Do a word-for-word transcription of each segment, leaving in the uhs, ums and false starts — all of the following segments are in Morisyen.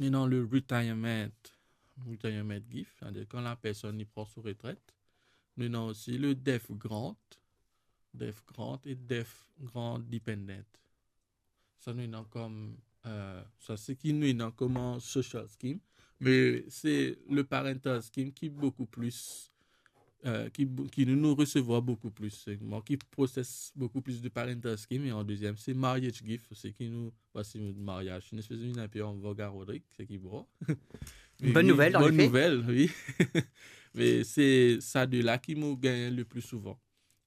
nou ena le retirement, retirement gift, c'est-à-dire kan lapersonn li pran so retret. Nou ena osi le death grant, death grant e death grant dependent. Sa nou ena kom, euh, sa seki nou ena kouma social scheme, me se le parental scheme ki boukou plis, euh, ki bou-, ki nou, nou resevwar boukou plis. Se mwa ki proses boukou plis de parental scheme, e an deziem se marriage gift, seki nou, parski nou maryaz, nou espes vinn inpe an vog a Rodrig, seki bon. Une bonne nouvelle, en effet. Bonne nouvelle, oui. Me se sa de la ki mo gagn le pli souvan.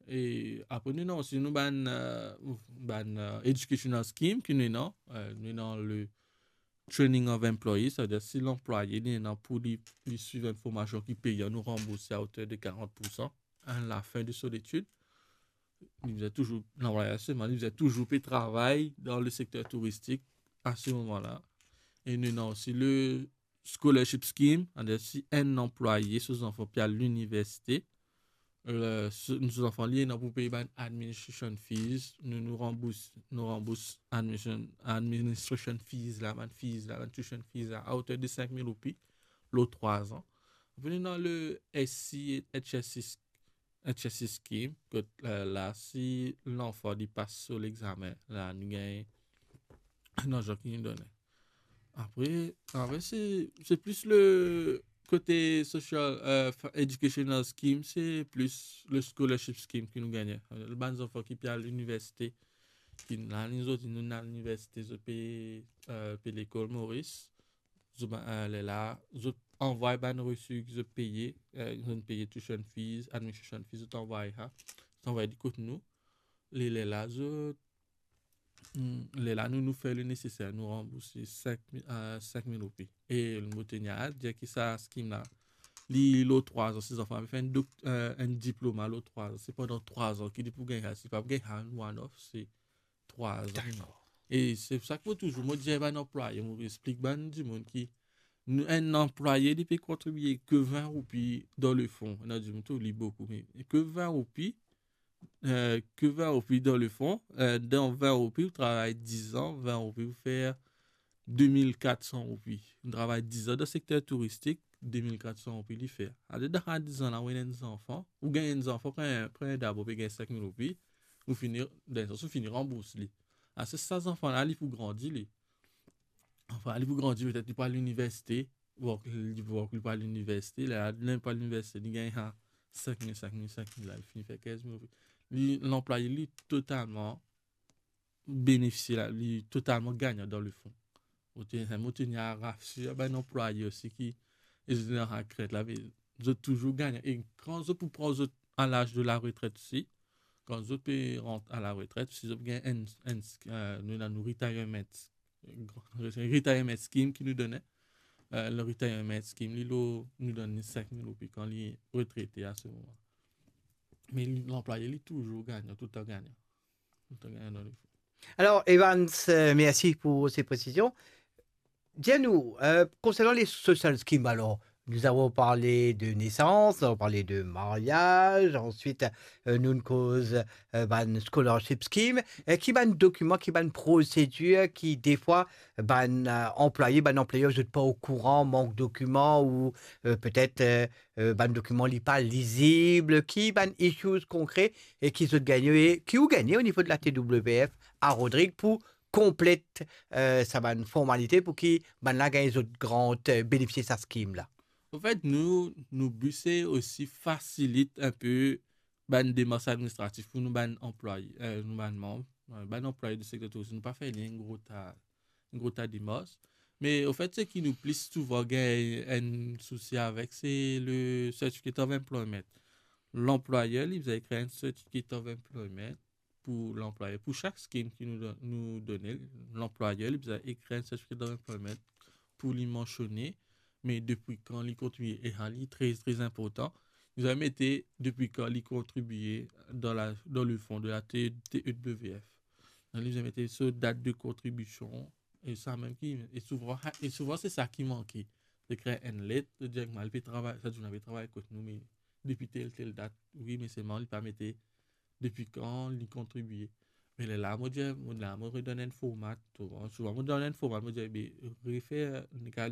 E apre nou ena osi nou bann, euh, bann, euh, educational scheme ki nou ena, euh, nou ena le training of employees, c'est-à-dire si lanplwaye li ena pou li, li swiv enn formasion ki peyan, nou ranbours a oter de quarante pour cent à la fin de son étude. Li bizin touzour, lanplwaye selman, li bizin touzour pe travay dan le sekter touristik a se moman la. E nou ena osi le scholarship scheme, c'est-à-dire si enn anplwaye, so zanfan pe al liniversite, euh, so, so zanfan li ena pou pey bann administration fees, nou, nou ranbours, nou ranbours admission, administration fees la, bann fees la, bann tuition fees la, a oter de cinq mille roupi, lor trwa an. Apre nou ena le S C H S C, H S C scheme, kot, euh, la, si lanfan li pas so lexame, la, nou gagn larzan ki nou done. Apre, apre se, se plis le kote social, euh, fa-, educational scheme, se plis le scholarship scheme ki nou gagne. Le bann zanfan ki pe al liniversite, ki la, nou zot, nou al liniversite, zot pe, euh, pe lekol Moris, zot, euh, lerla, zot anvway bann resi ki zot peye, euh, zot peye tuition fees, administration fees, zot anvway sa, zot anvway li kot nou. Le, lerla, zot, hmm, lerla nou, nou fer le neseser, nou ranbours cinq mille, euh, cinq mille roupi. E mo teni a dir ki sa scheme la, li lor trwa an, si zanfan la fer enn dok-, euh, enn diploma lor trwa an, se pandan trwa an ki li pou gagn sa, li pa pou gagn sa one off, se trwa an. Dakor. E se pou sa ki mo touzour, mo dir bann anplwaye, mo explik bann dimoun ki nou, enn anplwaye, li pe kontribie ke vin roupi dan le fon. Ena dimoun trouv li boukou, me ke vin roupi, euh, ke vin roupi dan le fon, euh, dan vin roupi, ou travay diz an, vin roupi, ou fer de mil kat san roupi. Ou travay diz an dan sekter touristik, de mil kat san roupi li fer. Adedan sa diz an la, ou ena enn zanfan, ou gagn enn zanfan, kan, kan dabor pe gagn cinq mille roupi, ou fini, dan enn sans, ou fini ranbours li. Apre sa zanfan la, li pou grandi, li. Anfin, li pou grandi, petet li pou al liniversite, ou li pou, li pou al liniversite, la, li pou al liniversite, li gagn sa cinq mille, cinq mille, cinq mille la, li fini fer quinze mille roupi. Li, lanplwaye, li totalman benefisie la, li totalman gagnan dan le fon. Mo teni, mo teni a rasir bann anplwaye osi ki, e zot dan sa krent la, me zot touzour gagnan. E kan zot pou pran zot a laz de la retret osi, kan zot pe rant a la retret, si zot gagn enn, enn, euh, nou ena nou retirement, retirement scheme ki nou done, euh, le retirement scheme, li lor, nou donn li cinq mille roupi kan li retrete a se moman. Me li, lanplwaye, li touzour gagnan, toultan gagnan. Toultan gagnan dan le fon. Alors, Evans, euh, merci pour ces précisions. Dis-nous, euh, concernant les social schemes, alors, nous avons parlé de naissance, nous avons parlé de mariage, ensuite, euh, nou koz, euh, bann scholarship scheme. E ki bann dokiman, ki bann prosedir ki, defwa, bann, euh, anplwaye, bann anplwayer, zot pa okouran, mank dokiman ou, euh, petet, euh, euh, bann dokiman li pa lizib, ki bann issues konkre e ki zot gagne, e ki ou gagne o nivo de la T W F a Rodrig pou konplet, euh, sa bann formalite pou ki bannla gagn zot grant, euh, benefisie sa scheme la? Anfet, nou, nou bi se osi fasilit inpe bann demars administratif pou nou bann anplwaye, euh, nou bann manb, euh, bann anplwaye de sekter touristik, nou pa fer li enn gro ta, enn gro ta demars. Me anfet, seki nou plis souvan gagn enn sousi avek, se le Certificate of Employment. Lanplwayer, li bizin ekrir enn Certificate of Employment pou lanplwayer. Pou sak scheme ki nou don-, nou done, lanplwayer, li bizin ekrir enn Certificate of Employment pou li mansione, me depi kan li kontribie, e sa li tre, tre inportan, li bizin mete depi kan li kontribie dan la, dan le fon de la T-, T E W F. Donk, li bizin mete so dat de kontribision, e sa mem ki, e souvan, e souvan se sa ki manke. Ekrir enn let, dir, "Mo pe travay, sa dimoun la pe travay kot nou, me depi tel, tel dat, wi, me selman li pa mete depi kan li kontribie." Me lerla mo dir, mo la mo redonn enn format, to, souvan mo donn enn format, mo dir, be, refer, nek al